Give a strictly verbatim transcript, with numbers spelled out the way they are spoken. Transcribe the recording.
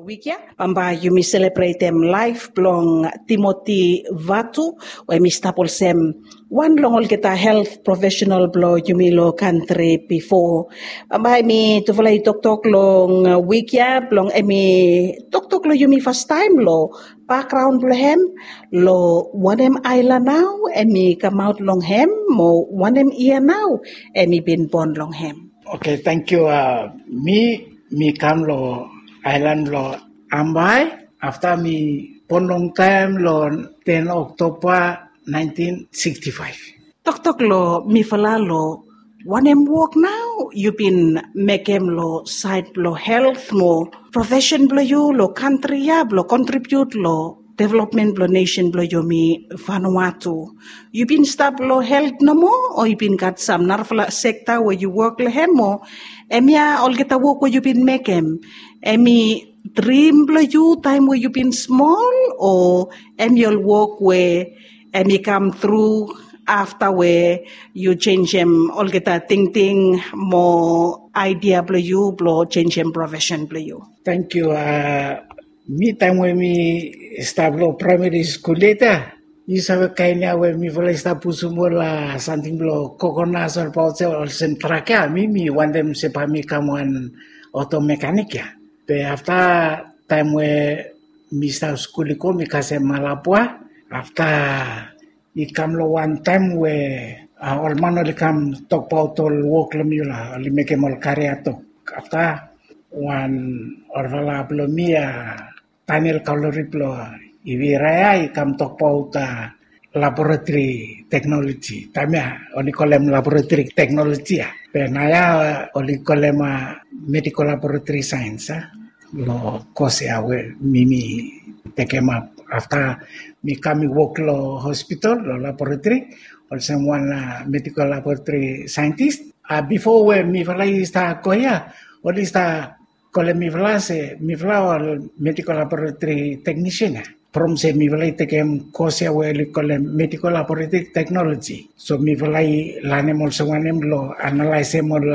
Wik ya bambae yumi selebretem laef blong Timoti Vatu, we hem i stap olsem wan long olgeta helt profesenal blong yumi long kantri bifo. Bambae mi tufala i toktok long wik ya blong hem i toktok long yumi fastaem long bakgraon blong hem, long wanem aelan nao hem i kamaot long hem, mo wanem yia nao hem i bin bon long hem. Oke, tangkiu. Mi mi kam long aelan blong Ambae. Afta mi bon longtaem long ten Oktoba naentin siksti faef. Toktok long mifala long wanem wok nao yu bin mekem long saed blong helt mo profesen blong yu long kantri ya blong kontribiut long developmen blong nesen blong yumi Vanuatu. Yu bin stap long helt nomo, o yu bin gat sam narafala sekta we yu wok long hem, o hemia olgeta wok we yu bin mekem, hem i drim blong yu taem we yu bin smol, o hem i ol wok we hem i kam tru afta we yu jenisim olgeta tingting mo aedia blong yu blong jenisim profesen blong yu? Tangkiu. Mi taem we mi stap long praemari skul yet ya, yu save kaen ya we mifala i stap pusum ol samting blong kokonas olbaot se olsem trak ya, mi mi wantem se bae mi kam wan oto mekanik ya. Be afta taem we mi stap skul i go mi kasem alabua. Afta i kam long wan taem we ol man oli kam tokbaot ol wok long mi, oli mekem ol karia tok. Afta wan olfala blong mi ya, Daniel Kalori blong Iviraya, i kam tokbaot laboratori teknoloji. Taem ya oli kolem laboratori teknoloji ya, be naoia oli kolem medikol laboratori saens ya. Long kos ya we mi mi tekemap, afta mi kam mi wok long hospital long laboratori olsem wan medikol laboratori saentis. Bifo we mifala i stap go ya, oli stap kolem mifala se mifala ol medikol laboratori teknisian ya, from se mifala i tekem kos ya we oli kolem medikol laboratori teknoloji. So mifala i lanem olsem wanem long analaesem ol